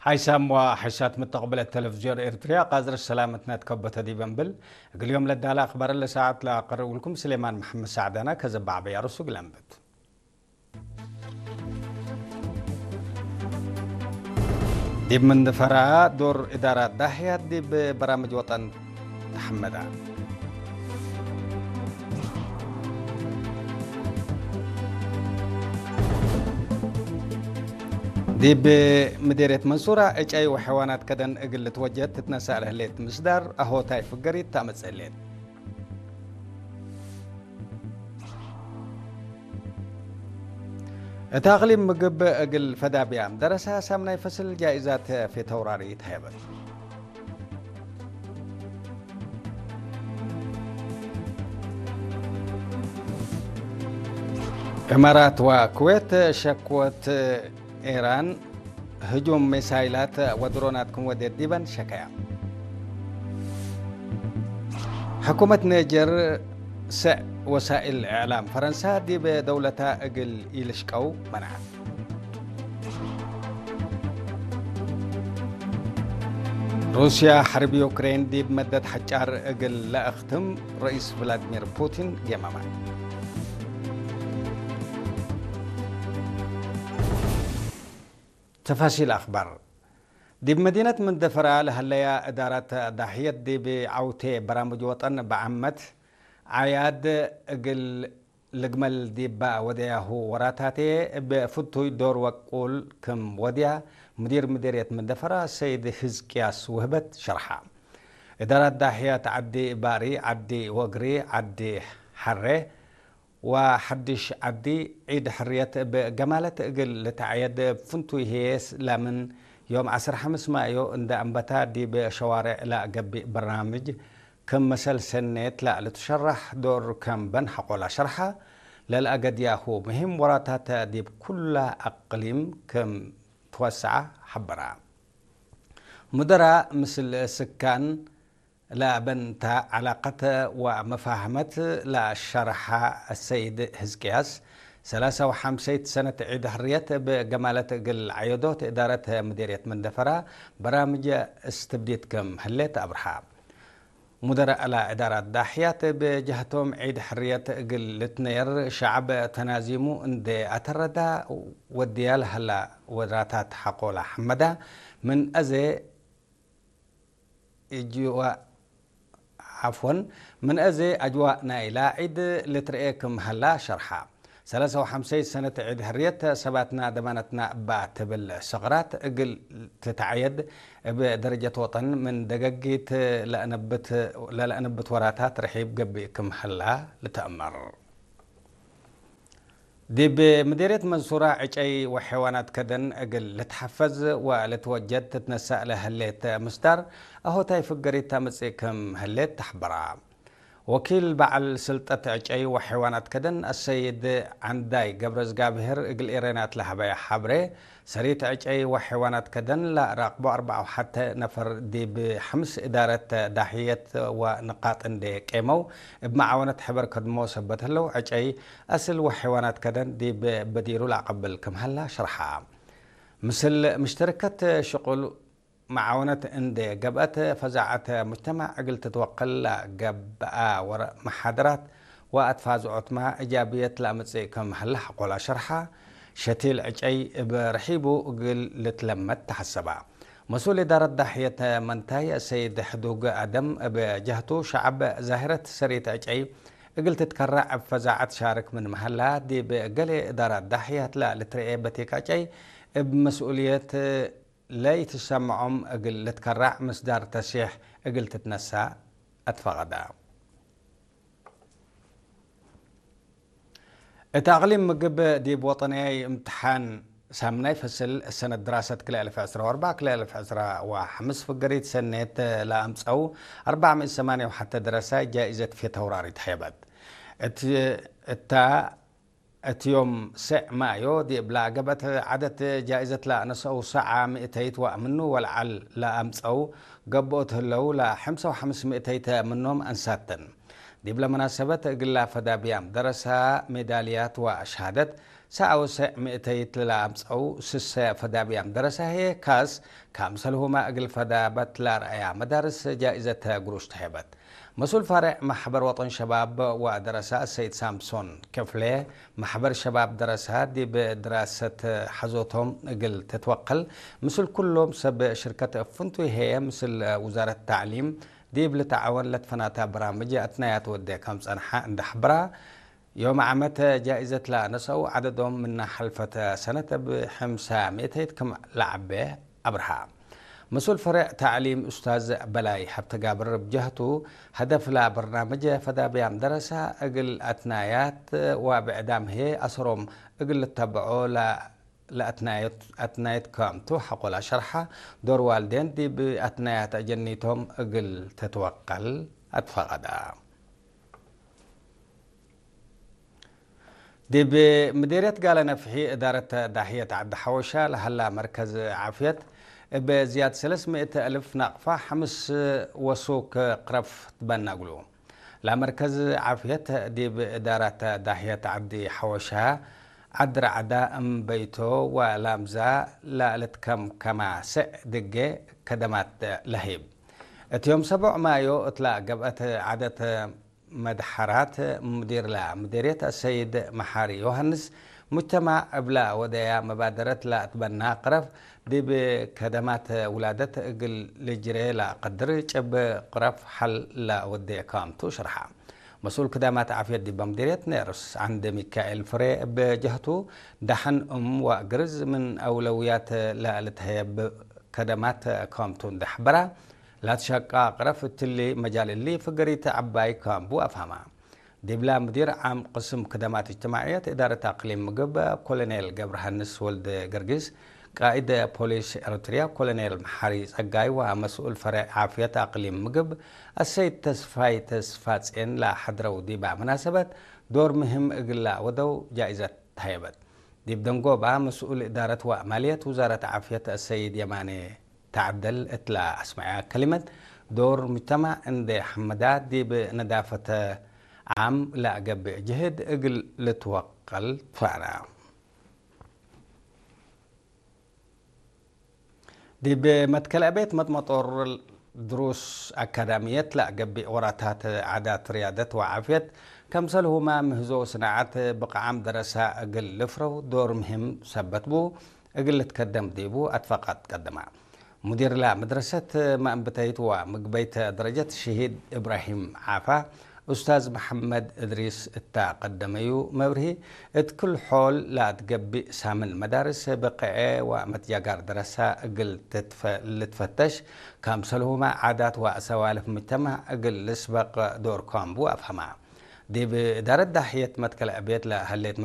ሓይሳም ወሓይሳት ምተቕብለት ተለቪዝዮን ኤርትርያ ቃዝር ሰላምትነት ከበተ ዲበንብል እግልዮም ለዳላ ኣኽባር ለሰዓት ለኣቐርብልኩም ስሌማን መሓመድ ሳዕዳና ከዘባዕበያ ርሱ ግለንብት። ዲብ ምንድፈራ ዶር እዳራ ዳህያት ዲብ በራምጅ ወጠን ተሐመዳ። ዲብ ምዴርየት መንሱራ ዕጨይ ወሐዋናት ከደን እግል ልትወጀድ ትትነሳእ ለህሌት ምስዳር ኣሆታይ ፍገሪት ታመጽእ ህሌት። እታ ኣቕሊም ምግብ እግል ፈዳብያ ደረሳ ሳምናይ ፈስል ጃኢዛት ፌተውራሪ ተሃየበት። እማራት ወኩዌት ሸክወት ኢራን ህጁም ሚሳይላት ወድሮናት ክም ወዴት ዲበን ሸከያ። ሕኩመት ኔጀር ሰዕ ወሳኢል እዕላም ፈረንሳ ዲብ ደውለታ እግል ኢልሽቀው መናዓት። ሩስያ ሐርብ ዩክሬን ዲብ መደት ሐጫር እግል ለአኽትም ርኢስ ቭላድሚር ፑቲን ጌማማት። ተፋሲል ኣኽባር። ዲብ መዲነት መንደፈራ ለሀለያ እዳራት ዳሕየት ዲብ ዓውቴ በራምጅ ወጠን በዓመት ዓያድ እግል ልግመል ዲባ ወደያሁ ወራታቴ እብ ፍቱይ ዶር ወቁል ክም ወድያ ሙዲር ምዴርየት መንደፈራ ሰይድ ህዝቅያስ ውህበት ሸርሓ። እዳራት ዳሕያት ዓዲ ባሪ፣ ዓዲ ወግሪ፣ ዓዲ ሐሬ፣ ወሐድሽ ዓዲ ዒድ ሕርየት እብ ገማለት እግል ልትዓየድ እብ ፍንቱይ ህዬስ ላምን ዮም ዐስር ሐምስ ማዮ እንደ አንበታ ዲብ ሸዋርዕ ለአገቢእ በርናምጅ ክም መሰል ሰኔት ለልትሸራሕ ዶር ከም በን ሐቆላ ሸርሓ ለልአገድያሁ ምህም ወራታት ዲብ ኩላ አቅሊም ክም ትወሰዓ ሐበራ። ሙደራ ምስል ስካን ለበንታ ዐላቀት ወመፋህመት ለሸርሐ ሰይድ ህዝቅያስ፣ ሰላሳ ወሐምሰይት ሰነት ዒድ ሕርየት እብ ገማለት እግል ዐየዶት እዳረት ምዴርየት መንደፈራ በራምጀ እስትብዲት ክም ህሌት አብርሃ። ሙደራእ ለእዳራት ዳሕያት እብ ጀህቶም ዒድ ሕርየት እግል ልትነየር ሸዕብ ተናዚሙ እንዴ አተረዳ ወድያ ለሀላ ወራታት ሐቆላ ሐመዳ ምን አዜ እጅዋ ዓፍወን፣ ምን አዜ አጅዋእ ናይላ ዒድ ልትርኤ ክም ሀላ ሸርሓ። ሰላሳ ወሐምሰይ ሰነት ዒድ ሕርየት ሰባትና ደማነትና እባ ትብል ሰቕራት እግል ትትዓየድ እብ ደረጀት ወጠን ምን ደገጊት ለአነብት፣ ለለአነብት ወራታት ርሒብ ገብእ ክም ሀላ ልትአመር። ዲብ ምዴርየት መንሱራ ዕጨይ ወሐይዋናት ከደን እግል ልትሐፈዝ ወልትወጀድ ትትነሳእ ለህሌት ምስዳር አሆታይ ፍገሪት ታምጽእ ክም ህሌት ተሕበራ። ወኪል በዓል ስልጠት ዕጨይ ወሐይዋናት ከደን አሰይድ ዓንዳይ ገብረዝጋብሄር እግል ኤረናት ለሀበያ ሐብሬ፣ ሰሪት ዕጨይ ወሐይዋናት ከደን ለራቅቦ አርበዓ ወሐተ ነፈር ዲብ ሐምስ እዳረት ዳህየት ወንቃጥ እንዴ ቄመው እብ መዓወነት ሕበር ከድሞ ሰበት ህለው ዕጨይ አስል ወሐይዋናት ከደን ዲብ በዲሩ ለአቀብል ክም ሀላ ሸርሓ። ምስል ምሽተርከት ሽቁል መዓወነት እንዴ ገብአት ፈዛዐት ሙጅተማዕ እግል ትትወቀል ለገብአ ወረ መሓደራት ወአትፋዝዖትማ እጃብየት ለአምጽእ ክም ሀላ ሐቆላ ሸርሓ። ሸቲል ዕጨይ እብ ርሒቡ እግል ልትለመድ ተሐሰባ። መስኡል እዳረት ዳሕየት መንታይ ሰይድ ሕዱግ አደም እብ ጀህቱ ሸዐብ ዛህረት ሰሪት ዕጨይ እግል ትትከረዕ እብ ፈዛዐት ሻርክ ምን መሀላ ዲብ ገሌ እዳራት ዳሕያት ለልትርኤ በቲክ ዕጨይ እብ መስኡልየት ለይትሰመዖም እግል ልትከረዕ ምስዳር ተሲሕ እግል ትትነሳእ አትፈቀዳ። እት አቅሊም ምግብ ዲብ ወጠንያይ እምትሓን ሳምናይ ፈስል ሰነት ድራሰት ክልኤ አልፍ ዕስራ ወአርባዕ ክልኤ አልፍ ዕስራ ወሐምስ ፍገሪት ሰኔት ለአምጸው አርባዕ ሚእት ሰማንያ ወሐተ ደረሳይ ጃኢዘት ፊተውራሪ ተሄበት። እት-፣ እታ እት ዮም ሰዕ ማዮ ዲብ ለአገብአት ዐደት ጃኢዘት ለአነሰው ሰዓ ሚእተይት ወምኑ ወለዐል ለአምጸው ገብኦት ህለው ለሐምሳ ወሐምስ ሚእተይት ምኖም አንሳተን። ዲብለ መናሰበት እግላ ፈዳብያም ደረሳ ሜዳልያት ወሸሃደት ሳኣውሰዕ ምእተይት ለላምፀው ስሰ ፈዳብያም ደረሳሄ ካስ ካምሰልሁማ እግል ፈዳበት ላርአያ መዳርስ ጃኢዘተ ግሩሽ ተሄበት። መሱል ፈረዕ ማሕበር ወጠን ሸባብ ወደረሳ ሰይድ ሳምሶን ክፍሌ፣ ማሕበር ሸባብ ደረሳ ዲብ ድራሰት ሓዞቶም እግል ትትወቀል፣ ምስል ኩሎም ሰብ ሽርከት እፍንቱ ይሄየ ምስል ውዛረት ታዕሊም ዲብ ልተዓወን ለትፈናታ በራምጅ ኣትናያት ወደ ከም ጸንሓ እንዳሕብራ፣ ዮም ዓመት ጃኢዘት ለነሰው ዓደዶም ምና ሐልፈተ ሰነት እብ ሕምሳ ሚእተይት ክም ለዓቤ ኣብርሃ። መስኡል ፈረዕ ታዕሊም ኡስታዝ በላይ ሀብተጋብር ብጀህቱ፣ ሀደፍ ለበርናመጀ ፈዳብያም ደረሳ እግል ኣትናያት ወብዕዳም ህዬ ኣሰሮም እግል ልተበዖ ለኣትናየት፣ ኣትናየት ከእምቱ ሐቆላ ሸርሓ፣ ዶር ዋልዴን ዲብ ኣትናያት ኣጀኒቶም እግል ተትወቀል ኣትፈቀዳ። ዲብ ምዴርየት ጋለ ነፍሒ እዳረት ዳህየት ዓዲ ሓወሻ ለሀላ መርከዝ ዓፍየት እብ ዝያድ ሰለስ ሚእት እልፍ ናቅፋ ሐምስ ወሱክ ቅረፍ ትበነግሉ። ላመርከዝ ዓፍየት ዲብ እዳረት ዳህየት ዓዲ ሓወሻ ዓዲ ራዕዳ እምበይቶ ወላምዛ ላልትከምከማ ስዕ ድጌ ከደማት ለህይብ። እት ዮም ሰቦዕ ማዮ እትላ ገብአት ዓደት መድሐራት ሙዲርላ ምዴርየት አሰይድ መሓሪ ዮሃንስ፣ ሙጅተማዕ እብላ ወደያ መባደረት ላእትበና ቅረፍ ዲብ ከደማት ውላደት እግል ልጅሬ ላቀድር ጭብ ቅረፍ ሐል ላወዴ ካምቱ ሽርሓ። መስኡል ክዳማት ዓፍየት ዲባ ምዴርየት ኔርስ ዓንድ ሚካኤል ፍሬ እብ ጀህቱ፣ ዳሕን እም ወእግርዝ ምን አውለውያት ላልትሀየብ ከደማት ካምቱ እንዳሕበራ፣ ላትሸቃ ቅረፍ እትሊ መጃል እሊ ፍገሪት ዐባይ ካምቡ አፍሀማ። ዲብላ ምዲር ዓም ቅስም ክደማት እጅትማዕየት እዳረት አቅሊም ምግብ ኮሎኔል ገብረሃንስ ወልደ ገርጊስ፣ ቃኢድ ፖሊስ ኤርትርያ ኮሎኔል መሓሪ ጸጋይ ወመስኡል ፈረዕ ዓፍየት አቅሊም ምግብ አሰይድ ተስፋይ ተስፋጼን ለሐድረው ዲባ መናሰበት ዶር ምህም እግላ ወደው ጃኢዘት ተሀየበት። ዲብ ደንጎባ መስኡል እዳረት ወማልየት ውዛረት ዓፍየት አሰይድ የማኔ ተዓደል እትላ አስመዐያ ከሊመት፣ ዶር ሙጅተማዕ እንዴ ሐመዳ ዲብ ነዳፈተ ዓም ለአገብእ ጅህድ እግል ልትወቀል ትፈና። ዲብ መትከል አቤት መጥመጦር ድሩስ አካዳሚየት ለአገብእ ወራታት ዓዳት ርያደት ወዓፍየት፣ ከምሰልሁማ ምህዞ ስናዓት ብቅዓም ደረሳ እግል ልፍረው ዶር ምህም ሰበት ቡ። እግል ልትከደም ዲቡ አትፈቃት ቀደማ። ሙዲርላ መድረሰት መእንብተይት ወምግበይት ደረጀት ሽሂድ እብራሂም ዓፋ፣ ኡስታዝ መሐመድ እድሪስ እታ ቀደመዩ መብርሂ፣ እት ክል ሖል ለአትገቢእ ሳምን መዳርስ ብቅዔ ወመትጃጋር ደረሳ እግል ትትፈ-፣ ልትፈተሽ፣ ከምሰልሁማ ዓዳት ወአሰዋልፍ ሙጅተማዕ እግል ልስበቅ ዶር ካምቡ አፍሀማ። ዲብ እዳረት ዳሕየት መትከል ዕቤት ለሀሌት